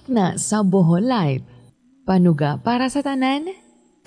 Na sa Bohol Live. Panuga para sa tanan,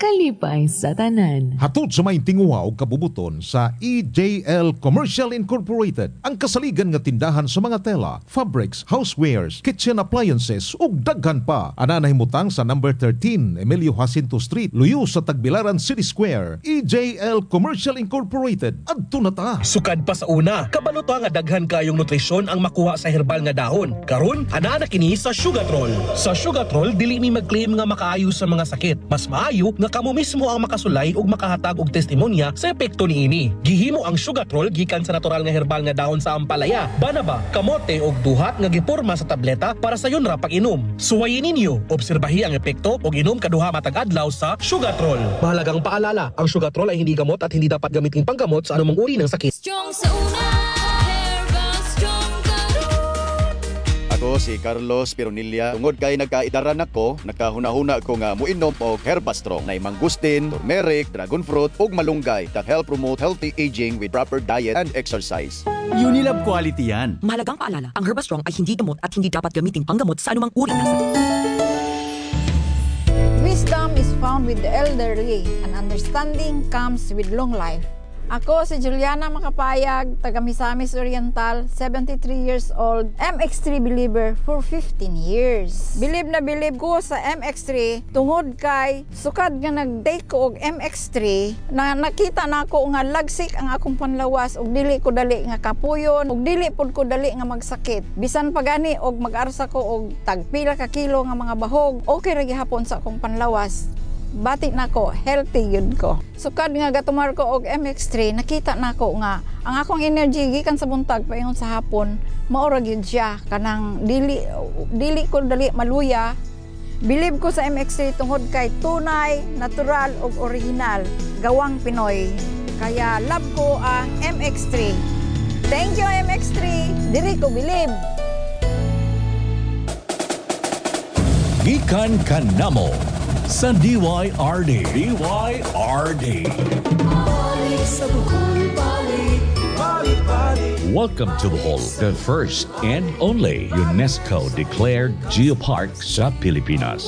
kalipay sa tanan. Hatod sa may tinguha og kabubuton sa EJL Commercial Incorporated, ang kasaligan nga tindahan sa mga tela, fabrics, housewares, kitchen appliances ug daghan pa. Ana nahimutang sa number 13 Emilio Jacinto Street, luyo sa Tagbilaran City Square. EJL Commercial Incorporated. Adto na ta. Sukad pa sa una, kabalo ta nga daghan kayong nutrisyon ang makuha sa herbal nga dahon. Karon, ana na kini sa Sugatrol. Sa Sugatrol, dili mi mag-claim nga makaayo sa mga sakit. Mas maayo nga kamo mismo ang makasulay ug makahatag og testimonya sa epekto niini. Gihimo ang Sugatrol gikan sa natural nga herbal nga dahon sa ampalaya, banaba, kamote ug duhat nga giporma sa tableta para sayon ra pag-inom. Suwayin ninyo, obserbahi ang epekto ug inom kaduha matag adlaw sa Sugatrol. Mahalagang paalala, ang Sugatrol ay hindi gamot at hindi dapat gamitin panggamot sa anumang uri ng sakit. Strong sa una, Herba Strong karon. Ako si Carlos Pironilla. Tungod kay nagkaidaran ako, nakahuna-huna ko nga muinom og Herbastrong. Nay mangustin, turmeric, dragon fruit ug malunggay that help promote healthy aging with proper diet and exercise. Unilab quality yan. Mahalagang paalala, ang Herbastrong ay hindi gamot at hindi dapat gamitin panggamot sa anumang uri ng sakit. Wisdom is found with the elderly, and understanding comes with long life. Ako si Juliana Makapayag, taga Misamis Oriental, 73 years old, MX3 believer for 15 years. Believe na believe ko sa MX3 tungod kay sukad nga nag-take ko og MX3 na nakita na ako nga lagsik ang akong panlawas ug dili ko dali nga kapuyon ug dili pud ko dali nga magsakit. Bisan pa gani og mag-arsa ko og tagpila ka kilo nga mga bahog, okay ra gihapon sa akong panlawas. Bati nako, healthy yun ko. Sukad nga gatumar ko og MX3, nakita nako nga ang akong energy gikan sa buntag paingon sa hapon, mao ra gyud siya, kanang dili dili ko dali maluya. Believe ko sa MX3 tungod kay tunay, natural ug original, gawang Pinoy. Kaya love ko ang MX3. Thank you, MX3. Diri ko believe. Gikan kanamo sa DYRD. DYRD. Balik sa Bohol, balik, balik, balik. Welcome to Bohol, the first and only UNESCO declared geopark sa Pilipinas.